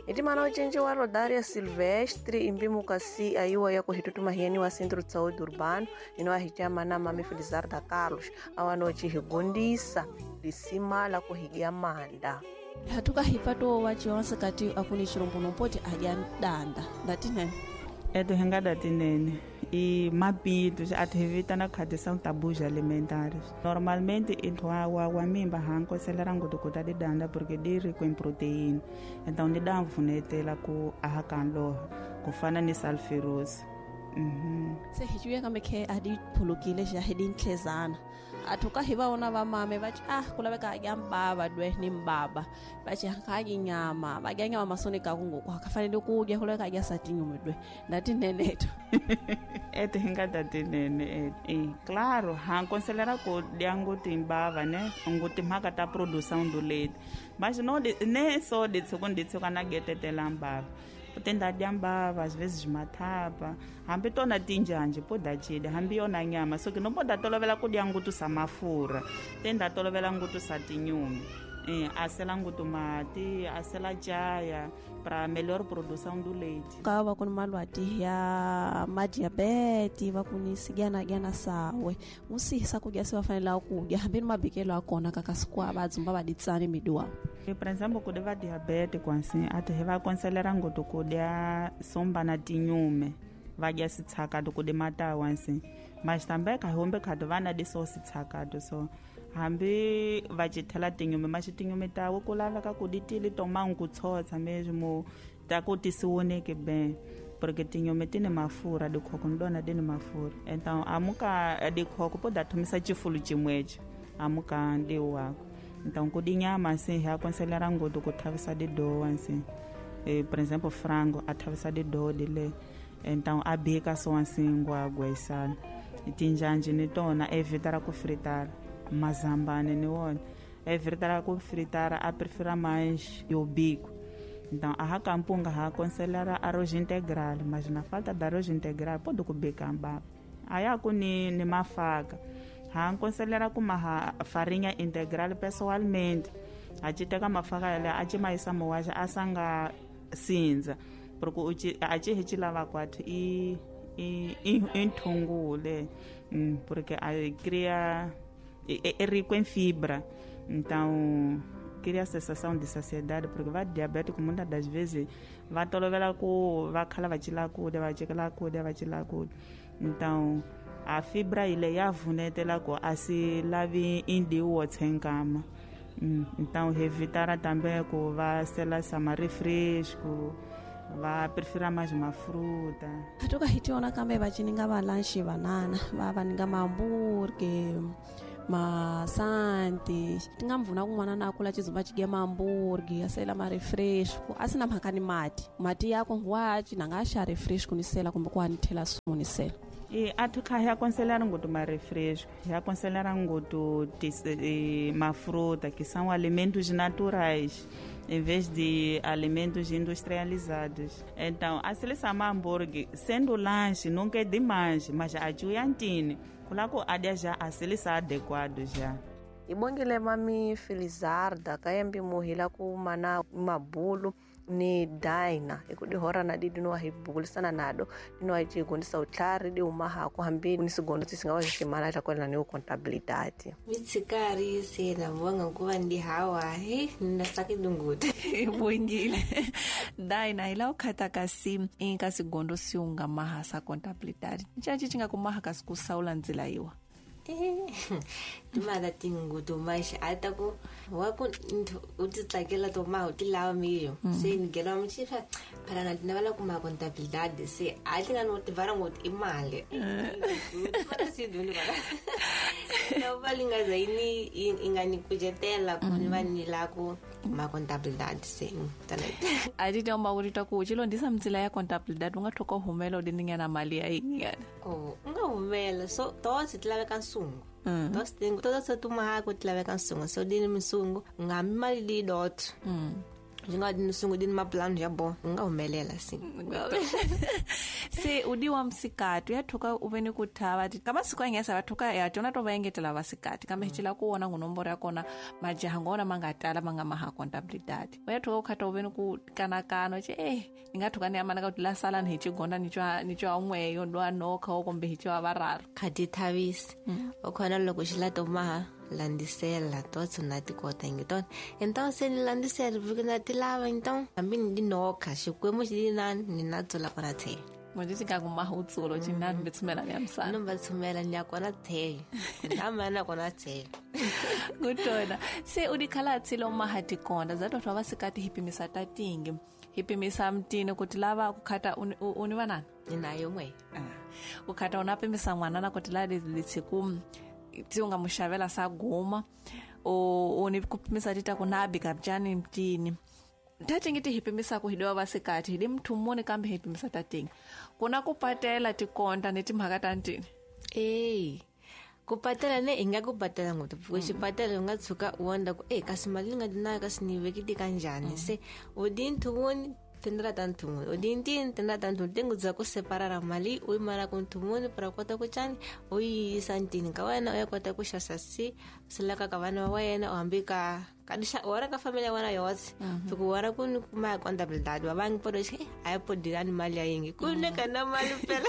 Itimana ucenji wa Rodária Silvestre imbimu kasi aiwa ya kuhitutuma hieni wa Centro de Saúde Urbano ino ahichama na mami Felizarda Carlos awanochi higundisa lisima la kuhigia manda hatuka hipato wa chionse kati akuni chirombo nompoti adya danda ndatinene eto hingada tinene e mabitos atevitana khadi são tabus alimentares. Normalmente intwa wa mimba hanko seleranga kuta di danda porque di rico em proteína. Então di dá mvunetela ku ahakanlo kufana ni sulfurous. Se hijuya kambe khe adi phulukile ja hedi ntlezana athuka hi vaona va mame va ci ah ku laveka adya mbava dwe ni mbaba va ci hakadyi nyama va dya nyama masoni ka kungoku akafanele ku dya ku laveka adya satinyume dwe ndati neneto eto hi nga ta tinene e claro ha considera ku dya ngoti mbava ne ngoti mhaka ta produção do leite mas não nem só de segundo na getetela mbava tenda dya mbava às vezes mathapa hambi tona tinjanje po da chida hambi yona nyama so ke no po da tolovela ku dya ngutu sa mafurha tenda tolovela ngutu sa tinyumi asela ngutu mati asela chaya para melhor produção do leite ka va ku ni malwati ya madiabete va ku ni sigyana gyana sawe musihisa ku dya se va fanela ku dya hambi ni mabikelo ya kona kaka sikwa va dzumba va ditsani midiwa. Por exemplo, quando va diabete assim, até vai aconselhar ngutu ku dya somba na tinyume va dya sitshakato ku di matawa assim mas também ka hombe khado vana di so sitshakato so hambi va cithela tinyume mas tinyume tawo ku laveka ku di tili tomang ku tshotsa mesmo ta ku ti siwoneke bem porque tinyume ti ni mafurha dikhoko ni dona di ni mafurha então amuka dikhoko po da thomisa chifulu chimwecho amuka ndi wako. Então ku di nyama assim hi aconselhar ngutu ku thavisa di doa assim por exemplo frango a thavisa di doa dile então a bika so assim ngwagwesana tinjanje ni tona evitar ku fritar mazambane ni wona evitar ku fritar a prefira mais o bico. Então a racampunga ha aconselhar arroz integral mas na falta de arroz integral pode ku bika mbaba aí ku ni mafaka ha aconselhar ku maha farinha integral pessoalmente a ci teka mafaka yale a ci maisa mowaxa a sanga sindza porque a ci hi ci lava kwathu i nthungule porque a cria é rico em fibra então cria sensação de saciedade porque va diabético muitas das vezes va tolovela ku va khala va cila kudya va cekela kudya va cila kudya então a fibra ile ya vunetela ku a si lavi indiwo tsenkama. Então evitar também ku va sela sama refresco va prefira mais uma fruta. Hatuka hitiona kambe va cininga va lanche banana va va ninga mamburge masanti tinga mvuna kun'wana na kula chizumba chige mamburge asela ma refresco asina mhaka ni mati mati yako ngwachi nanga xa refresco ni sela kumbe ku anithela sumu ni sela. E athu kha hi aconselhar ngutu ma refresco hi aconselhar ngutu ma fruta que são alimentos naturais em vez de alimentos industrializados. Então, a seleção hambúrguer, sendo lanche, nunca é demais, mas a juiantine, coloco a já a seleção adequado já. Ibongile mami Felizarda kayambi muhila ku mana mabulu ni Daina ikudihora na didi no ahibulisana nado dino achigondisa utlari di umaha kuhambi ni sigondo tisingawa ximana ta kwela ni contabilidade mitsikari se na vonga kuva ndi hawa he na sakidunguta ibongile Daina ila ukhata kasi inka sigondo siunga maha sa contabilidade nchachi chinga kumaha kasi kusaula nzila iwa Timala tingutu mas ataku waku utitsakela to ma utilava mesmo se nigela mchifa para na tinava kuma contabilidade se atinga no tivara ngot imali para se dulu para não valinga zaini ingani kujetela kunwa ni lako ma contabilidade se adita mbaurita ku chilondisa mzila ya contabilidade ungathoka humela udiningana mali ya ingana oh ungahumela so tosi tilaveka nsungu tosi todo se tuma hako tilaveka nsungu so dini msungu ngamali di dot Xi nga ni sungu di maplano ya bo nga humelela si. Se udi wa msikati ya thuka u ve ni ku thava ka masiku ya ngesa va thuka ya tona to va engetela vasikati kambe hi cila ku wona ngunomboro ya kona majaha ngona ma nga tala ma nga maha contabilidade u ya thuka u khata u ve ni ku kanakana che ni nga thuka ni amana ka ku la sala ni hi chigonda ni twa un'weyo lwa nokha o kumbe hi twa vararo khadi thavisi o khona loko xi la to maha landisela totso na tikota ngiton então se ni landisela porque na tilava então hambi ni nokha xikwembu xi na ni na tsula kona the manje nga kuma utsulo jina mbetsumela ya msana no mbatsumela nya kona the ndamana kona the kutona se udikhala tsilo mahati konda zato twa vasikati hipimisa tatingi hipimisa mtini kuti lava kukhata uni vanana ninayo mwe ukhata unapimisa mwana na kuti la litsiku ti unga muxavela sa guma o ni kupimisa tita kunabi kabjani mtini tatingi ti hipimisa ku hidiwa vasikati hidi mthu muni kambe hipimisa tatingi kuna kupatela tikonta ni timhaka ta ntini kupatela ne i nga kupatela ngopfu porque xipatela u nga tshuka u wonder ku kasi mali ni nga nayo kasi ni vekile kanjhani se u di nthumuni tendra ta nthumuni u di ntini tendra ta nthumuni tingu dza ku separara mali u yi mala ku nthumuni para kota ku cani u yi yisa ntini ka wena u ya kota ku xasa si silaka ka vana va wena u hambi ka wara ka family ya wena yotse fika wara ku ni kuma contabilidade va vangi podo xi a yi podirani mali ya yingi ku ne ka na mali phela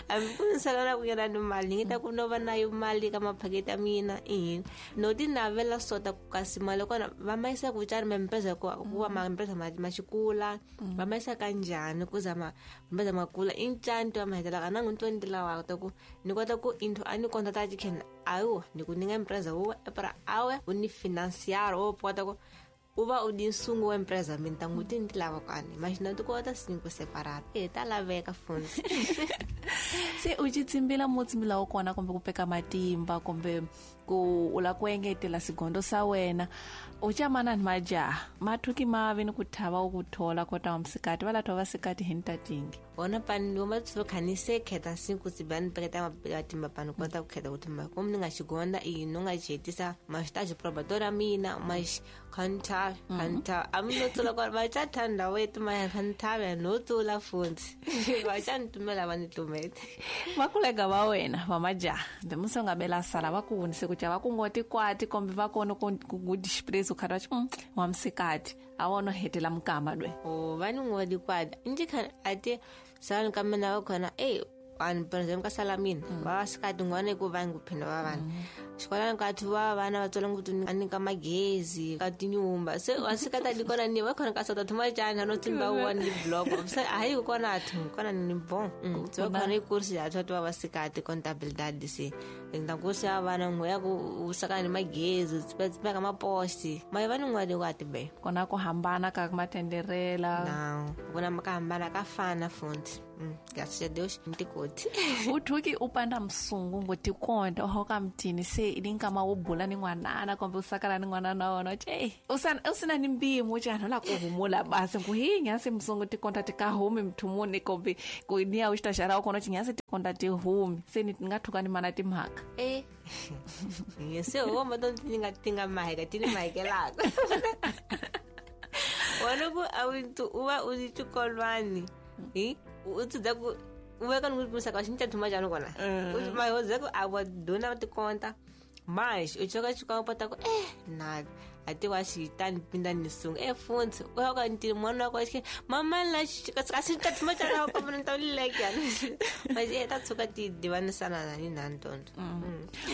hambi ku ni sala na ku yena ni mali ni ngi ta ku no va na yo mali ka maphaketi ya mina i no ti navela sota ku kasi mali kona va ma yisa ku cani ma mpeza ku va ma mpeza ma xikula va ma yisa kanjhani ku za ma mpeza ma kula i ncani to ma hetelaka na n'wi ntwa ni ti lavaka ta ku ni kota ku intho a ni konta ta chicken ayo ni ku ni nga empresa wo para awe u ni financiar o kota ku u va u di nsungu wa empresa mi ta n'wi ti ni ti lava kwani mas na ti kota cinco separado ta laveka funzi se u ci tsimbila mo tsimbila wa kona kumbe ku peka matimba kumbe ku u la ku engetela sigondo sa wena u camana ni majaha mathuki ma ve ni ku thava u ku thola kota wa msikati va latwa vasikati hi ntatingi wona pani wa matsuva khani se kheta cinco tsibani peketa matimba pani kota ku kheta ku thumba como ni nga xigonda i no nga xi mas ta xi probatora mina mas khanta khanta am no tsula kwa va cha thanda wetu ma khanta no tsula funzi va cha ntumela va ni tumete va kulega va wena va majaha mbe musi nga bela sala va ku hunise ku va ku ngoti kwati kombe va kona ku disprezo khata wa msikati a wona hetela mukama dwe o va ni ngoti kwati nje khana ate sala ka mina va khona vanhu por exemple ka sala mina va sikati n'wana ku va nguphinda va vana xikolani ka thu va vana va tswela ngopfu a nyika magezi ka tinyumba se wa sikata di kona ni va khona ka sota thuma cana no tsimba wa ni block se a hi kona thu kona ni bon so khona i kursi ya thwa va sikati contabilidade se nda kursi ya vana ngo ya ku saka ni magezi tsipa ka maposti ma va ni ngwadi wa tibe kona ku hambana ka matenderela na kona ka hambana ka fana futhi graças a Deus ntikoti uthuki upanda msungu ngotikonda ohoka mtini se idinkama wo bula ni n'wanana kumbe u sakala ni n'wanana wona che usina ni mpimo chana la ku humula basi ku hi nyasi msungu tikonda tikahumi mthumuni kumbe ku niya u xitaxara u kona chinyasi tikonda tihumi se ni nga thuka ni mana timhaka se wo ma to tinga tinga maheka tini mahekelaka wona ku a u va u xikolwani hi u tsudza ku u veka ni ku musaka xi ncha thuma njhani kona ma ho ku a wa dona tikonta mas u choka xikolo pota ku na a ti wa xi tani pinda ni sunga funtsi u ya ka ntini mwana wa ka mama la ka xi ncha thuma njhani ka mona ta leke mas ta tshuka ti divanisana na ni na ntondo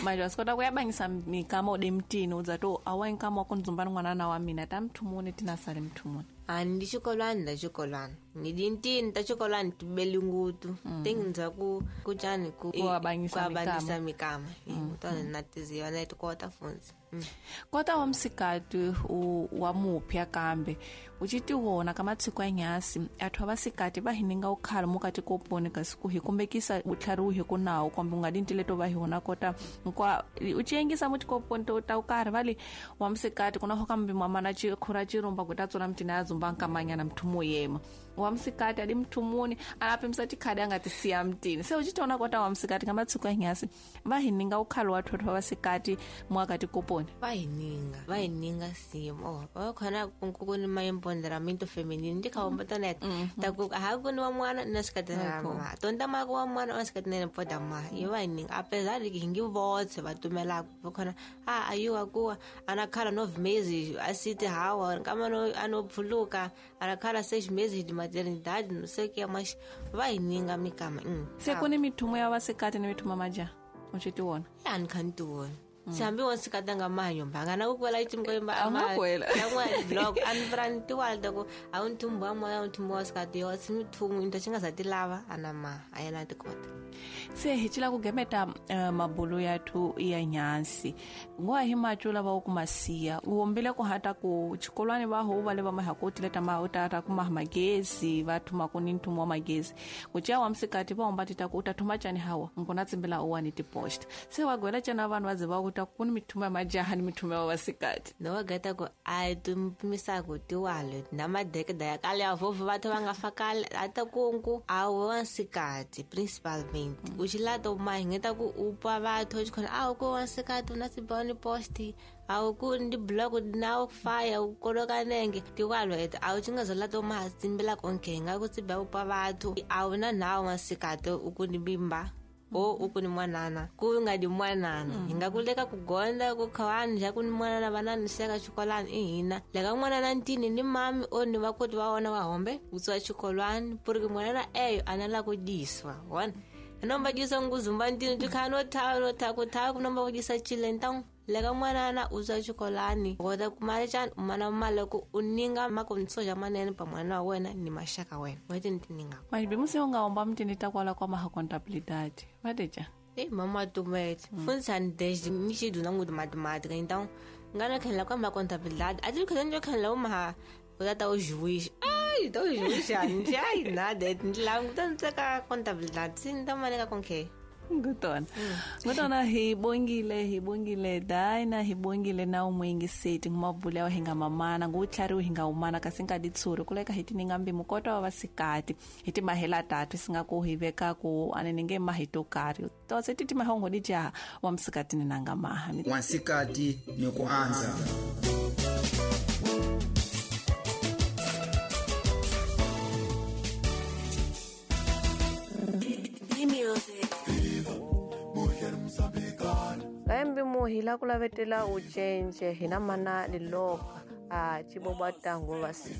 manje wa swi kota ku ya bangisa mikama u de mtini u dza to a wa nkama wa ku ndzumba ni n'wanana wa mina ta mthumuni tina sale mthumuni a ndi xikolwani ta xikolwani ni dintini ta xikolwani tibeli ngutu tingindza ku cani ku ku mikama tona na tiziva na tikota funzi kota wa msikati wa mupya kambe u ci tiwona ka matsiko ya nyasi athu va sikati va hininga ukhala mukati koponi kasi ku hi kumbekisa utlhari wu hi ku nawu kumbe u nga dintile to va hi wona kota nkwa u ci yengisa mutikoponi to ta ukarhi va li wa msikati kuna hoka mbi mamana ci khura cirumba ku ta tsona mtina ya dzumba nkamanyana mthu mo yema Wa msikati adi mthumuni anapimisa tikhadi angatisiya mtini. Se uchitiona kota wa msikati ngamatsiko anyasi vahininga ukhalo wa thotho wa vasikati mwakati koponi. Vahininga simo vakhona kuni maempoderamento feminino ndikhaomba taku hakuni wa mwana na sikati na tonda mako wa mwana wa sikati na poda ma yo vahininga apesar de que hingi votse va tumelaka vakhona a ayiwa kuwa anakhala 9 meses asiti hawa kama no anophuluka anakhala 6 meses de maternidade não sei o que mas vahininga mikama. Se kuni mithumo ya vasikati ni mithumo ya majaha uchitiwona? Ya nikhantiwona. Sihambi wansikati anga mahanyomba angana kukwela itimkoyimba Angakwela. blog anifrantiwalta ku awunthumbu wa moya awunthumbu wa sikati yo simithumu into xingazatilava ana ma ayena tikota. Se hi cila ku gemeta mabulu yathu ya nyansi ngoa hi macula va ku masiya u wombile ku hata ku chikolwani va ho va le va maha ku tileta ma u tata ku maha magezi va thuma ku ni nthumo wa magezi ku cia wa msikati va omba tita ku u ta thuma cani hawa nkuna tsimbila u wa ni tipost se wa gwela cana vanhu va ze va ku ta ku ni mithumo ya majaha ni mithumo ya vasikati. No va geta ku a tumpimisaku tiwalo na madekeda ya kale ya vhovho vathu va nga fa kale ata kunku a wa nsikati principalmente uxilata umahingeta ku upa vathu xikhona a ku wa nsikati una siboni posti a ku ndi block na fire u koloka nenge tiwalo eta a u nga zalata uma tsimbila konke nga ku tsiba upa vathu a una nawo wa nsikati u ku ni bimba o u ku ni mwanana ku nga di mwanana hi nga ku leka ku gonda ku khawani xa ku ni mwanana vanani seka xikolani i hina leka n'wanana ntini ni mami o ni vakoti va wona va hombe u tswa xikolwani puriki mwanana eyo a na la ku dyiswa wona anomba dyisa nguzumba ntini ti kha no tha no tha ku tha ku nomba ku dyisa chile então leka n'wanana u tswa xikolani kota ku mali xana u mana mali ku u ninga makonsoja manene pa mwana wa wena ni maxaka wena wete ni tininga. Majibimusi u nga omba mtini ta kwala kwa maha contabilidade vateja. Ei mama tumete funzani desde ni xiduna nguti matemática então ngana khenla kwa ma contabilidade a ti khenla khenla uma u ta o juiz. Ai então o juiz ai nada languta ntseka contabilidade sim então maneka com que Ngutona. Ngutona hi bongile Daina hi bongile na umwingi seti ngumabula wa hinga mamana ngutlhari hinga umana kasi nga ditsuri kuleka hi tininga mbi mukota wa vasikati hi ti mahela tatu singa ku hi veka ku anene nge mahito kari to se ti mahongo di jaha wa msikati ni nanga maha wansikati ni kuanza. Kaembi muhila kulavetela ucenje hina mana liloka a ciboba tango vasika.